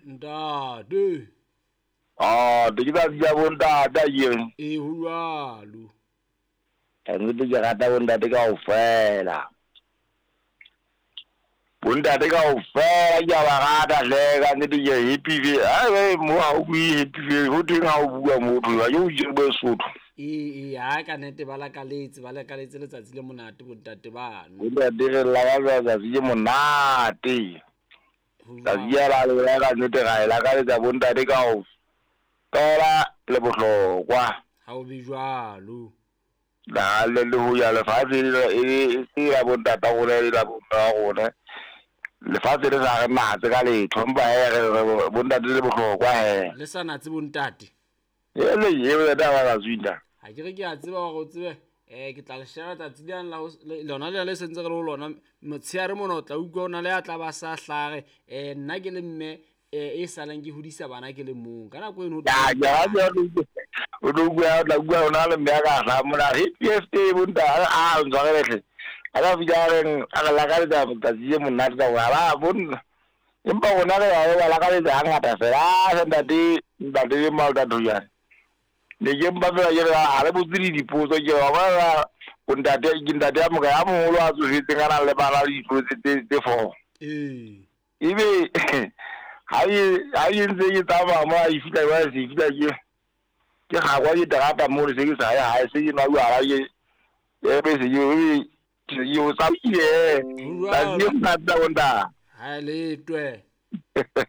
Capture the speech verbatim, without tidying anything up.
Ntate. Ah, te ke tsatsi la bontate akere. Ee, ho jwalo. Ka nnete ke rata bontate kaofela. Bontate kaofela ke a ba rata hle ka nnete ke happy fe. Ai mo ha o bue happy fe, ho thweng ha o bua motho ha ke o bue Sesotho. Ee, ee, ha ka nnete ba lakaletse, ba lakaletse letsatsi le monate bontate bano. Bontate re lakaletsa letsatsi le monate. Tsatsi la lona ka nnete ra e lakaletsa bontate kaofela le bohlokwa. Ha o be jwalo. Na le le ho ya lefatshe e se la bontata rona e la bo rona. Lefatshe le sa re natse ka letho empa he re bontate le bohlokwa he. Le sa natse bontate. E le eo taba ka tswinda. Ha ke re ke a tseba hore o tsebe eh ke tla le share tsatsi le la lona le le sentse re le ho lona motshehare mona o tla utlwa ona le a tla ba sa hlare eh nna ke le mme e salang ke hodisa bana ke le mong ka nako eno. Ya ya o tlo bua o tla bua ona le mme ka hla mona happy birthday bontate a ntshwarele hle. A ka fihla reng a re lakaletsa letsatsi le monate ka hore ba bonna empa rona re a ba lakaletsa hangata fela a ntate ntate le malta thojane. Ne ke mpa fela ke re ha re botse dipotso ke wa bona bontate ke ntate a moka ya moholo a tsofetseng a nang le bana le ditlo tse tse four. Ee. Ebe ha e ha e ntse ke tsamaya mo a e fihla ba se fihla ke ke gagwa ke terata mo le se ke sa ya hae se ke nwa jwala ke e be se ke ke o tsamaile. Tsatsi le monate bontate. Ha le twe.